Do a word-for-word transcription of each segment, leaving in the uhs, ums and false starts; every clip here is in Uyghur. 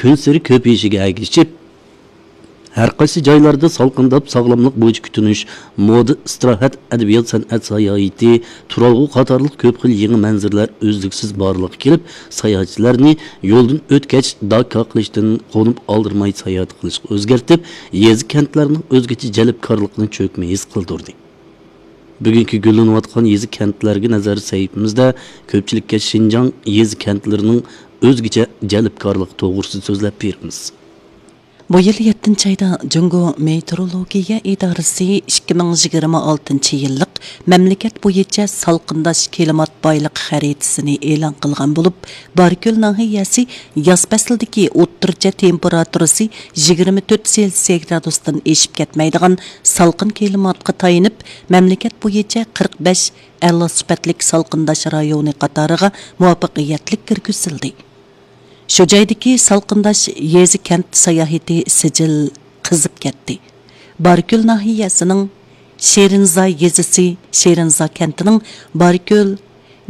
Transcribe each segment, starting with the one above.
كۈنسېرى كۆپىيىشىگە ئەگىشىپ، ھەر قايسى جايلاردا سالقىنداپ ساغلاملىق بويىچە كۈتۈنۈش، مودا، ئىستىراھەت، ئەدەبىيات، سەنئەت ساياھىتى، تۇرالغۇ قاتارلىق كۆپ خىل يېڭى مەنزىرىلەر ئۈزلۈكسىز بارلىققا كېلىپ، ساياھەتچىلەرنى يولدىن ئۆتكەچ داكا قىلىشتىن قونۇپ ئالدىرىماي ساياھەت قىلىشقا ئۆزگەرتىپ، يېزا كەنتلەرنىڭ ئۆزگىچە جەلپكارلىقىنى چۆكمە ھېس قىلدۇردى. بۈگۈنكى گۈللىنىۋاتقان يېزا كەنتلەرگە نەزەر سەھىپىمىزدە كۆپچىلىككە شىنجاڭ يېزا كەنتلىرىنىڭ ئۆزگىچە جەلپكارلىقى توغرىسىدا سۆزلەپ بېرىمىز. بۇ يىل يەتتىنچى ئايدا جۇڭگو مېتېئورولوگىيە ئىدارىسى ئىككى مىڭ يىگىرمە ئالتىنچى يىللىق مەملىكەت بويىچە سالقىنداش كىلىمات بايلىقى خەرىتىسىنى ئېلان قىلغان بولۇپ، باركۆل ناھىيەسى ياز پەسلىدىكى ئوتتۇرىچە تېمپېراتۇرىسى يىگىرمە تۆت سېلسىيە گرادۇستىن ئېشىپ كەتمەيدىغان سالقىن كىلىماتقا تايىنىپ، مەملىكەت بويىچە قىرىق بەش ئەلا سۈپەتلىك سالقىنداش رايونى قاتارىغا مۇۋەپپەقىيەتلىك كىرگۈزۈلدى. شۇ جايدىكى سالقىنداش يېزا كەنت ساياھىتى سىجىل قىزىپ كەتتى. باركۆل ناھىيەسىنىڭ شېرىنزا يېزىسى، شېرىنزا كەنتىنىڭ باركۆل،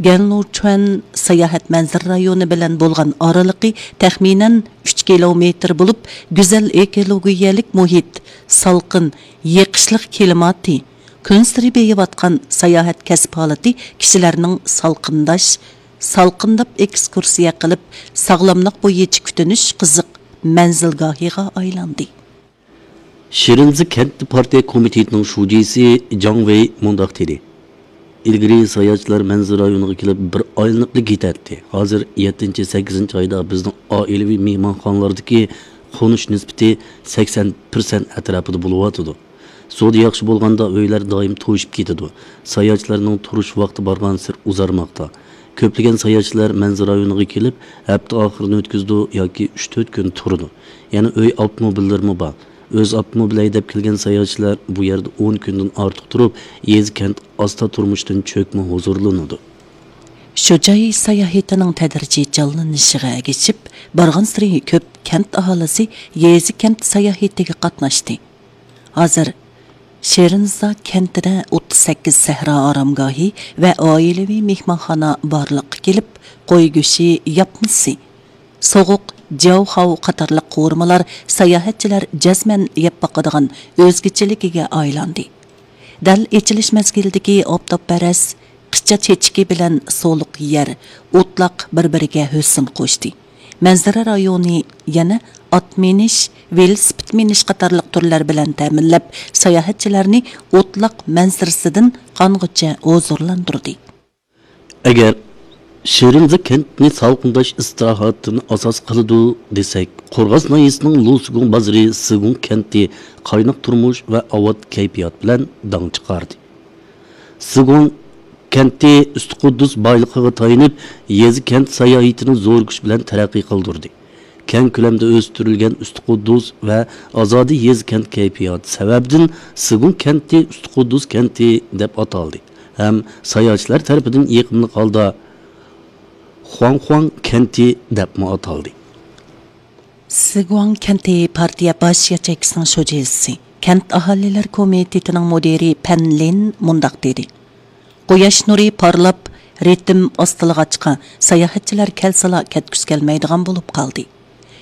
گەنلۇچۈەن ساياھەت مەنزىرە رايونى بىلەن بولغان ئارىلىقى تەخمىنەن ئۈچ كىلومېتىر بولۇپ، گۈزەل ئېكولوگىيەلىك مۇھىت، سالقىن، يېقىشلىق كىلىماتى، كۈنسېرى بېيىۋاتقان ساياھەت كەسىپ ھالىتى كىشىلەرنىڭ سالقىنداش، سالقىنداپ ئېكسكۇرسىيە قىلىپ، ساغلاملىق بويىچە كۈتۈنۈش قىزىق مەنزىلگاھىغا ئايلاندى. شېرىنزا كەنت پارتىيە كومىتېتىنىڭ شۇجىسى جاڭ ۋېي مۇنداق دېدى: ئىلگىرى ساياھەتچىلەر مەنزىرە رايونىغا كېلىپ بىر ئايلىنىپلا كېتەتتى. ھازىر يەتتىنچى، سەككىزىنچى ئايدا بىزنىڭ ئائىلىۋى مېھمانخانىلاردىكى قونۇش نىسبىتى سەكسەن پىرسەنت ئەتراپىدا بولۇۋاتىدۇ. سودا ياخشى بولغاندا ئۆيلەر دائىم توشۇپ كېتىدۇ. ساياھەتچىلەرنىڭ تۇرۇش ۋاقتى بارغانسېرى ئۇزارماقتا. كۆپلىگەن ساياھەتچىلەر مەنزىرە رايونىغا كېلىپ، ھەپتە ئاخىرىنى ئۆتكۈزىدۇ ياكى ئۈچ تۆت كۈن تۇرىدۇ. يەنە ئۆي ئاپتوموبىللىرىمۇ بار. ئۆز ئاپتوموبىل ھەيدەپ كەلگەن ساياھەتچىلەر بۇ يەردە ئون كۈندىن ئارتۇق تۇرۇپ، يېزا كەنت ئاستا تۇرمۇشتىن چۆكمە ھۇزۇرلىنىدۇ. شۇ جاي ساياھىتىنىڭ تەدرىجىي جانلىنىشىغا ئەگىشىپ، بارغانسېرى كۆپ كەنت ئاھالىسى يېزا كەنت ساياھىتىگە قاتناشتى. ھازىر شېرىنزا كەنتىدە ئوتتۇز سەككىز سەھرا ئارامگاھى ۋە ئائىلىۋى مېھمانخانا بارلىققا كېلىپ، قوي گۆشى ياپمىسى، سوغۇق جياۋخاۋ قاتارلىق قورۇمىلار ساياھەتچىلەر جەزمەن يەپ باقىدىغان ئۆزگىچىلىكىگە ئايلاندى. دەل ئېچىلىش مەزگىلىدىكى ئاپتاپپەرەس قىچا چېچىكى بىلەن سولۇق يەر، ئوتلاق بىر-بىرىگە ھۆسن قوشتى. مەنزىرە رايونى يەنە ئات مىنىش، ۋېلىسىپىت مىنىش قاتارلىق تۈرلەر بىلەن تەمىنلەپ، ساياھەتچىلەرنى ئوتلاق مەنزىرىسىدىن قانغۇچە ھۇزۇرلاندۇردى. ئەگەر شېرىنزا كەنتنى سالقىنداش ئىستىراھەتتىن ئاساس قىلىدۇ دېسەك، قورغاس ناھىيەسىنىڭ لۇسىگۇڭ بازىرى سىگۇڭ كەنتى قايناق تۇرمۇش ۋە ئاۋات كەيپىيات بىلەن داڭ چىقاردى. سىگۇڭ كەنتى ئۈستى قۇددۇس بايلىقىغا تايىنىپ، يېزا كەنت ساياھىتىنى زور كۈچ بىلەن تەرەققىي قىلدۇردى. كەڭ كۆلەمدە ئۆستۈرۈلگەن ئۈستى قۇددۇس ۋە ئازادە يېزا كەنت كەيپىياتى سەۋەبىدىن، سىگۇڭ كەنتى ئۈستى قۇددۇس كەنتى دەپ ئاتالدى ھەم ساياھەتچىلەر تەرىپىدىن يېقىملىق ھالدا خۇاڭخۇاڭ كەنتى دەپمۇ ئاتالدى. سىگۇاڭ كەنتى پارتىيە باش ياچېيكىسىنىڭ شۇجىسى، كەنت ئاھالىلەر كومىتېتىنىڭ مۇدىرى پەن لىن مۇنداق دېدى: قۇياش نۇرى پارلاپ، رىتىم ئاستىلىغاچقا، ساياھەتچىلەر كەلسىلا كەتكۈسى كەلمەيدىغان بولۇپ قالدى.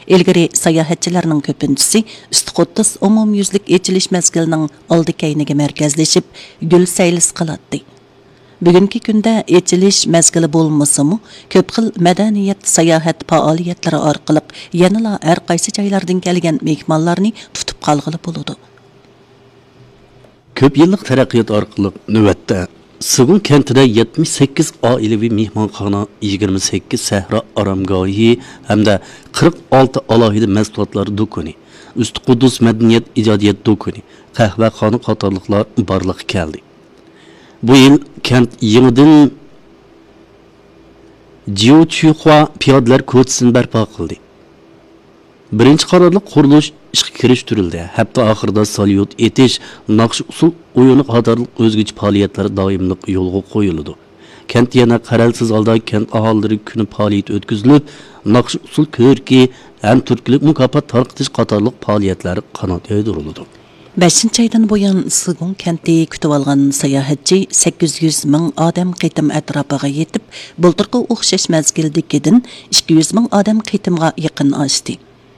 ئىلگىرى ساياھەتچىلەرنىڭ كۆپىنچىسى ئۈستى قۇددۇس ئومۇميۈزلۈك ئېچىلىش مەزگىلىنىڭ ئالدى كەينىگە مەركەزلىشىپ، گۈل سەيلىسى قىلاتتى. بۈگۈنكى كۈندە ئېچىلىش مەزگىلى بولمىسىمۇ، كۆپ خىل مەدەنىيەت، ساياھەت پائالىيەتلىرى ئارقىلىق يەنىلا ھەر قايسى جايلاردىن كەلگەن مېھمانلارنى تۇتۇپ قالغىلى بولىدۇ. كۆپ يىللىق تەرەققىيات ئارقىلىق نۆۋەتتە سىگۇڭ كەنتىدە يەتمىش سەككىز ئائىلىۋى مېھمانخانا، يىگىرمە سەككىز سەھرا ئارامگاھى ھەمدە قىرىق ئالتە ئالاھىدە مەھسۇلاتلار دۇكىنى، ئۈستى قۇددۇس مەدەنىيەت ئىجادىيەت دۇكىنى، قەھۋەخانا قاتارلىقلار بارلىققا كەلدى. بۇ يىل كەنت يېڭىدىن جيۇچۈخۇا پىيادىلەر كوچىسىنى بەرپا قىلدى. بىرىنچى قاتارلىق قۇرۇلۇش ئىشقا كىرىشتۈرۈلدى. ھەپتە ئاخىرىدا ساليۇت ئېتىش، ناخشا ئۇسسۇل ئويۇنى قاتارلىق ئۆزگىچە پائالىيەتلەر دائىملىق يولغا قويۇلىدۇ. كەنت يەنە قەرەلسىز ھالدا كەنت ئاھالىلىرى كۈنى پائالىيىتى ئۆتكۈزۈلۈپ، ناخشا ئۇسسۇل كۆركى ھەم تۈرتكىلىك مۇكاپات تارقىتىش قاتارلىق پائالىيەتلەر قانات يايدۇرۇلىدۇ. بەشىنچى ئايدىن بۇيان، سىگۇڭ كەنتى كۈتۈۋالغان ساياھەتچى سەككىز يۈز مىڭ ئادەم قېتىم ئەتراپىغا يېتىپ، بۇلتۇرقى ئوخشاش مەزگىلدىكىدىن ئىككى يۈز مىڭ ئادەم قېتىمغا يېقىن ئاشتى.